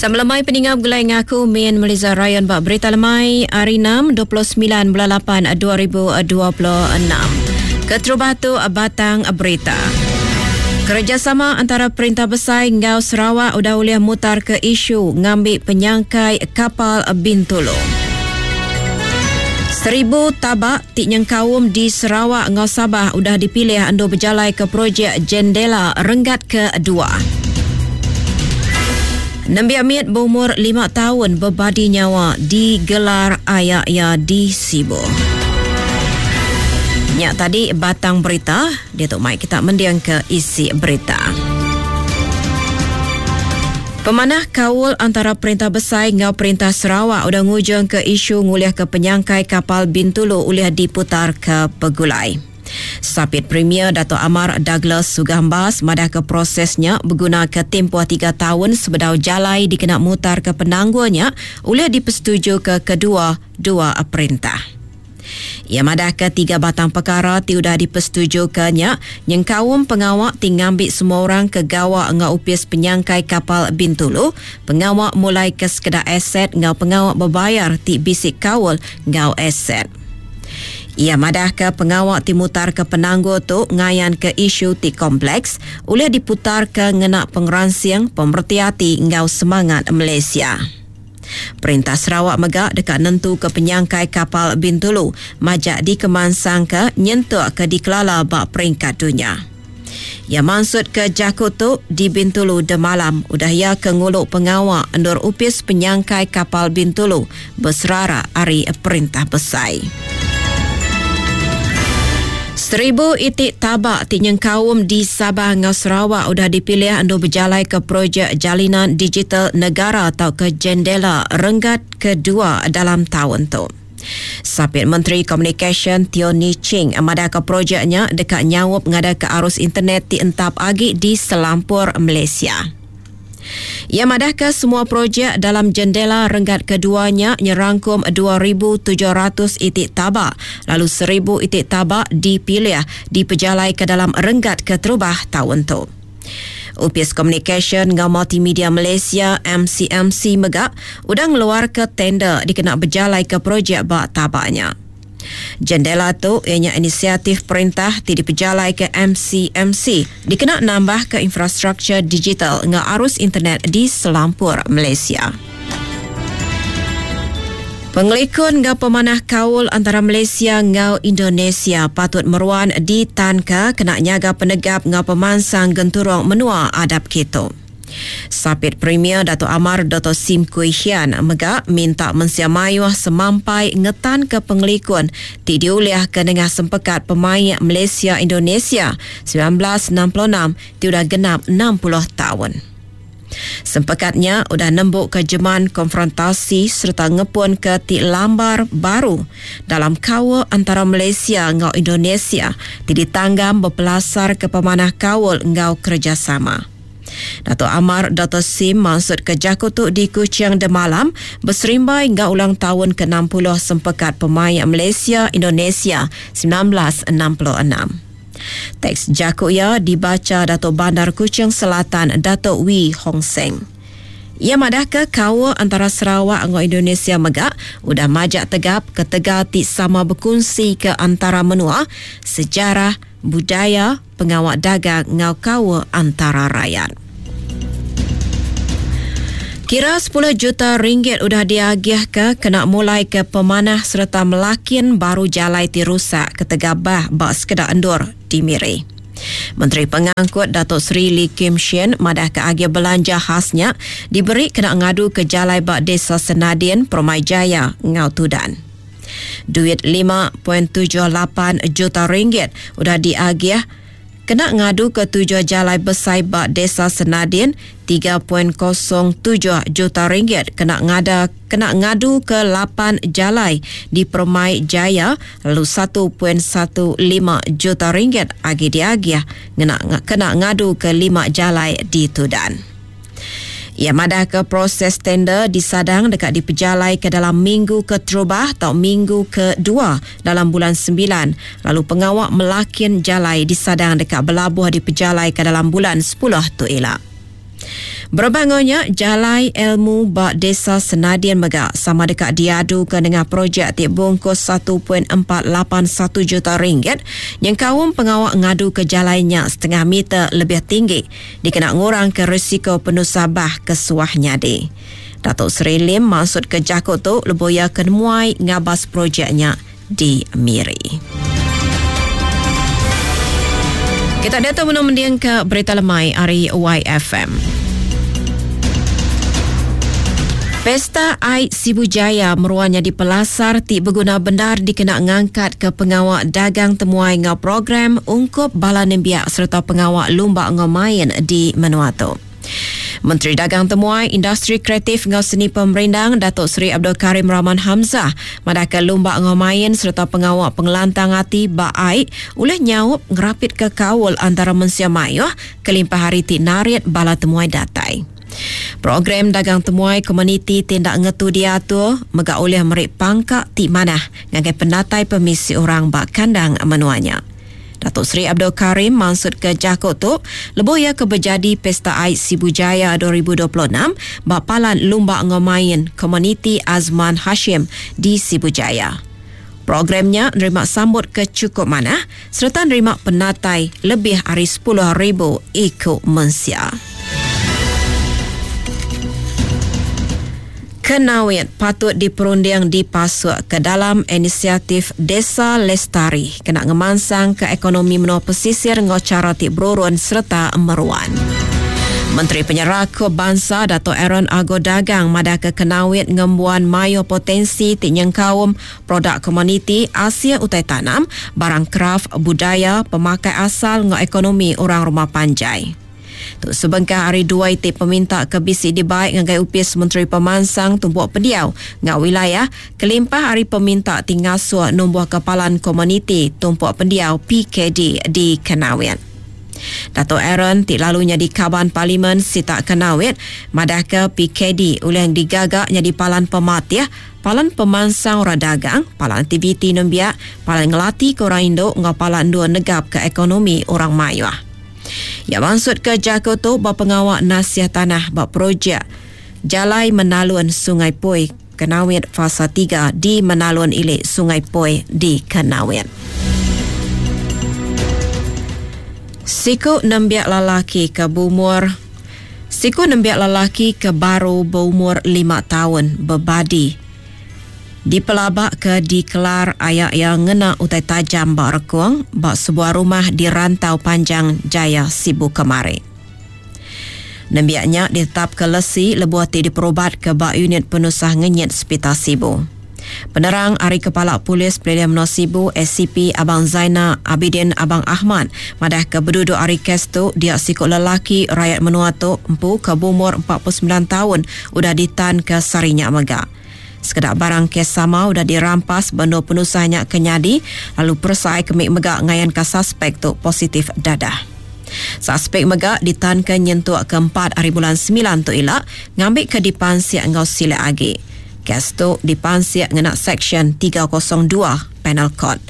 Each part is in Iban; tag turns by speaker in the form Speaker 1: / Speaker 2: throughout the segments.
Speaker 1: Sama lemai peninga begulai ngaku Min Meliza Ryan ba Berita Lemai hari 6 29 bulan 8 2026. Keterubah tu batang berita. Kerejasama antara Perintah Besai enggau Sarawak udah ulih mutar ke isu ngambi penyangkai kapal Bintulu. Seribu tabak ti nyengkaum di Sarawak enggau Sabah udah dipilih endur bejalai ke projek Jendela renggat kedua. Nembiak mit beumur lima taun bebadi nyawa digelar aya iya di Sibu. Nya tadi batang berita, diatu mai kita mending ke isi berita. Pemanah kaul antara Perintah Besai enggau Perintah Sarawak udah ngujungka isu ngulihka penyangkai kapal Bintulu ulih diputarka begulai. Sapit Premier Datuk Amar Douglas Sugah Embas madahka proses nya begunaka timpuh tiga taun sebedau jalai dikena mutarka penanggul nya ulih dipesetujuka kedua-dua perintah. Iya madahka tiga batang pekara ti udah dipesetujuka nya nyengkaum pengawa ti ngambi semua orang ke gawa enggau Opis Penyangkai Kapal Bintulu, pengawa mulaika sekeda aset enggau pengawa bebayar ti bisi kaul enggau aset. Iya madahka pengawa ti mutarka penanggul tu ngayanka isu ti kompleks ulih diputarka ngena pengeransing, pemereti ati enggau semangat Malaysia. Perintah Sarawak mega deka nentuka penyangkai kapal Bintulu majak dikemansangka nyentuk ke dikelala ba peringkat dunya. Iya mansutka jaku tu di Bintulu demalam udah iya ke ngulu pengawa endur Opis Penyangkai Kapal Bintulu beserara ari Perintah Besai. Seribu iti taba ti nyengkaum di Sabah enggau Sarawak udah dipilih endur bejalaika projek Jalinan Digital Negara tauka Jendela renggat kedua dalam taun tu. Sapit Menteri Komunikasyen Teo Nie Ching madahka projek nya deka nyaup ngadaka arus internet ti entap agi di selampur Malaysia. Iya madahka semua projek dalam jendela renggat kedua nya nyerangkum 2,700 iti taba lalu 1,000 iti taba dipilih dipejalaika dalam renggat keterubah taun tu. Opis Komunikasyen enggau Multimedia Malaysia, MCMC, mega udah ngeluarka tender dikena bejalaika projek ba taba nya. Jendela tu iya nya inisiatif perintah ti dipejalaika MCMC dikena nambahka infrastruktur digital enggau arus internet di selampur Malaysia. Pengelikun enggau pemanah kaul antara Malaysia enggau Indonesia patut meruan ditanka kena nyaga penegap enggau pemansang genturung menua adap kitu. Sapit Premier Datuk Amar Doktor Sim Kui Hian mega minta mensia mayuh semampai ngetanka pengelikun ti diulihka nengah Sempekat Pemaik Malaysia-Indonesia 1966 ti udah genap 60 taun. Sempekat nya udah nembuka jeman konfrontasi sereta ngepunka ti lambar baru dalam kaul antara Malaysia enggau Indonesia ti ditanggam bepelasarka pemanah kaul enggau kerejasama. Datuk Amar Doktor Sim mansutka jaku tu di Kuching demalam beserimbai enggau ulang taun ke 60 Sempekat Pemaik Malaysia Indonesia 1966. Teks jaku iya dibacha Datuk Bandar Kuching Selatan Datuk Wee Hong Seng. Iya madahka kaul antara Sarawak enggau Indonesia mega udah majak tegap ketegal ti sama bekunsika antara menua, sejarah, budaya, pengawa dagang enggau kaul antara rayat. Kira sepuluh juta ringgit udah diagihka kena mulaika pemanah sereta melakin baru jalai ti rusak ketegal bah ba sekeda endur di Miri. Menteri Pengangkut Datuk Seri Lee Kim Shin madahka agih belanja khas nya diberi kena ngaduka jalai ba Desa Senadin, Permai Jaya enggau Tudan. Duit 5.78 juta ringgit udah diagih kena ngaduka tujuh jalai besai ba Desa Senadin, 3.07 juta ringgit kena ngada kena ngaduka lapan jalai di Permai Jaya lalu 1.15 juta ringgit agi diagih ngena kena ngaduka lima jalai di Tudan. Iya madahka proses tender disadang deka dipejalaika dalam minggu keterubah tau minggu kedua dalam bulan Sembilan lalu pengawa melakin jalai disadang deka belabuh dipejalaika dalam bulan Sepuluh tu ila. Berebak enggau nya, jalai ilmu ba Desa Senadin mega sama deka diaduka nengah projek ti bungkus 1.481 juta ringgit nyengkaum pengawa ngaduka jalai nya setengah meter lebih tinggi dikena ngurangka risiko penusah bah ke suah nyadi. Datuk Seri Lim mansutka jaku tu lebuh iya ke nemuai ngabas projek nya di Miri. Kita diatu benung mendingka berita lemai ari YFM. Pesta Ai Sibu Jaya meruan nyadi pelasar ti beguna bendar dikena ngangkatka pengawa dagang temuai enggau program ungkup bala nembiak sereta pengawa lumba enggau main di menua tu. Menteri Dagang Temuai, Industri Kreatif enggau Seni Pemerindang Datuk Seri Abdul Karim Rahman Hamzah madahka lumba enggau main sereta pengawa pengelantang ati ba ai ulih nyaup ngerapitka kaul antara mensia mayuh kelimpah ari ti narit bala temuai datai. Program dagang temuai komuniti ti enda ngetu diatur mega ulih meri pangka ti manah ngagai penatai pemisi orang ba kandang menua nya. Datuk Seri Abdul Karim mansutka jaku tu lebuh iya ke bejadi Pesta Ait Sibu Jaya 2026 ba Palan Lumba enggau Main Komuniti Azman Hashim di Sibu Jaya. Program nya nerima sambut ke chukup manah sereta nerima penatai lebih ari 10,000 iku mensia. Kenawit patut diperunding dipasuk ke dalam inisiatif Desa Lestari kena ngemansangka ekonomi menua pesisir enggau chara ti berurun sereta meruan. Menteri Penyerakup Bansa Datuk Aaron Ago Dagang madahka Kenawit ngembuan mayuh potensi ti nyengkaum produk komuniti, asil utai tanam, barang kraf, budaya, pemakai asal enggau ekonomi orang rumah panjai. Tu sebengkah ari dua iti peminta ke bisi dibai ngagai Opis Menteri Pemansang Tumpuk Pendiau enggau Wilayah kelimpah ari peminta ti ngasuh numbuhka Palan Komuniti Tumpuk Pendiau, PKD, di Kanowit. Datuk Aaron ti lalu nyadi Kaban Parlimen sitak Kanowit madahka PKD ulih digaga nyadi palan pematih, palan pemansang orang dagang, palan aktiviti nembiak, palan ngelatika orang indu enggau palan endur negapka ekonomi orang mayuh. Iya mansutka jaku tu ba pengawa nasih tanah ba projek Jalai Menalun Sungai Poi Kanowit Fasa tiga di Menalun Ili Sungai Poi di Kanowit. Siku nembiak lelaki ke beumur Siku nembiak lelaki ke baru beumur lima taun bebadi Dipelabaka dikelar aya iya ngena utai tajam ba rekung ba sebuah rumah di Rantau Panjang Jaya, Sibu kemari. Nembiak nya ditetapka lesi lebuh ti diperubatka ba Unit Penusah Ngenyit Sepital Sibu. Penerang ari Kepala Polis Pelilih Menua Sibu SCP Abang Zaina Abidin Abang Ahmad madahka beduduk ari kes tu dia siku lelaki rayat menua tu empu ke beumur 49 taun udah ditanka sehari nya mega. Sekeda barang kes sama udah dirampas ba endur penusah nya ke nyadi lalu peresa ai kemi mega ngayanka saspek tu positif dadah. Saspek mega ditanka nyentuk ke empat hari bulan semilan tu ila ngambika dipansik enggau silik agi. Kes tu dipansik ngena Seksyen 302 Penal Code.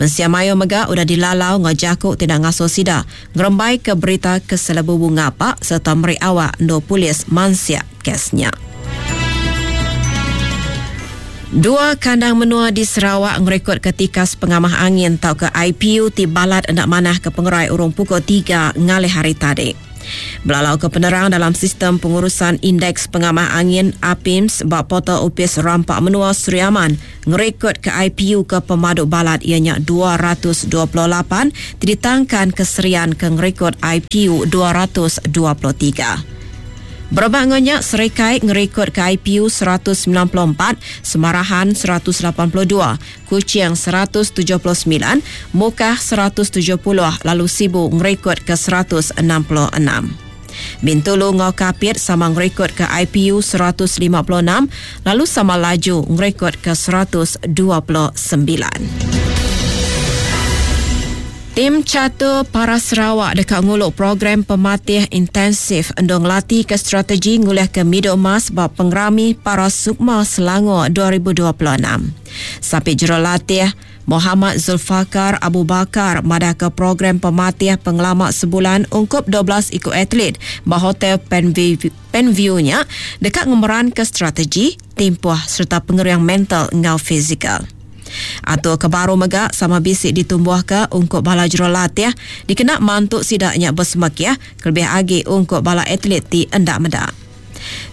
Speaker 1: Mensia mayuh mega udah dilalau enggau jaku ti enda ngasuh sida ngerembaika berita ke selebubu ngapa sereta meri awak endur polis mansik kes nya. Dua kandang menua di Sarawak ngerikodka tikas pengamah angin tauka IPU ti balat enda manah ke pengerai urung pukul tiga ngalih hari tadi. Belalauka penerang dalam Sistem Pengurusan Indeks Pengamah Angin, APIMS, ba portal Opis Rampa Menua Sri Aman ngerikodka IPU ke pemadu balat iya nya 228 ti ditangkan ke Serian ke ngerikod IPU 223. Berebak enggau nya, Serikai ngerikodka IPU 194, Semarahan 182, Kuching 179, Mukah 170 lalu Sibu ngerikodka 166. Bintulu enggau Kapit sama ngerikodka IPU 156 lalu sama laju ngerikodka 129. Tim Catur Para Sarawak deka ngulu program pematih intensif endur ngelatika strategi ngulihka midul emas ba Pengerami Para Sukma Selangor 2026. Sapit Jurulatih. Mohamad Zulfakar Abu Bakar madahka program pematih pengelama sebulan ungkup 12 iku atlet ba Hotel Penview nya deka ngemeranka strategi, timpuh sereta pengering mental enggau fizikal. Atur ke baru mega sama bisi ditumbuhka ungkup bala jurulatih dikena mantu sida nya besemekih kelebih agi ungkup bala atlet ti enda meda.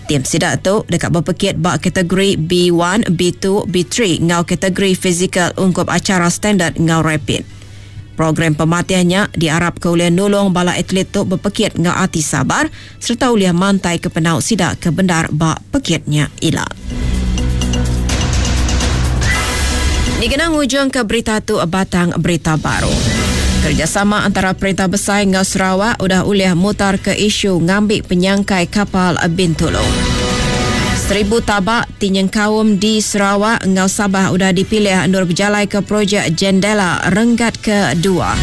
Speaker 1: Tim sida tu deka bepekit ba kategori B one, B two, B three enggau kategori fizikal ungkup achara standard enggau rapid. Program pematih nya diarapka ulih nulung bala atlet tu bepekit enggau ati sabar sereta ulih mantaika penau sida ke bendar ba pekit nya ila. Dikena ngujungka berita tu batang berita baru. Kerejasama antara Perintah Besai enggau Sarawak udah ulih mutarka isu ngambi penyangkai kapal Bintulu. 1000 tabak ti nyengkaum di Sarawak enggau Sabah udah dipilih endur bejalaika projek Jendela renggat kedua.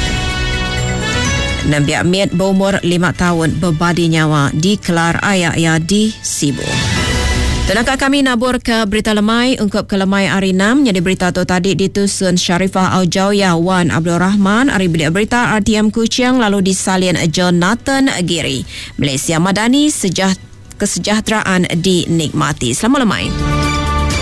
Speaker 1: Nembiak mit beumur lima taun bebadi nyawa dikelar aya iya di Sibu. Tenaka kami nabur ke berita lemai ungkup ke lemai hari enam nyadi berita tu tadi ditusun Sharifah Aujawiyah Wan Abdul Rahman ari Bilik Berita RTM Kuching lalu disalin Jonathan Giri. Malaysia Madani sejah kesejahteraan dinikmati. Selamat lemai.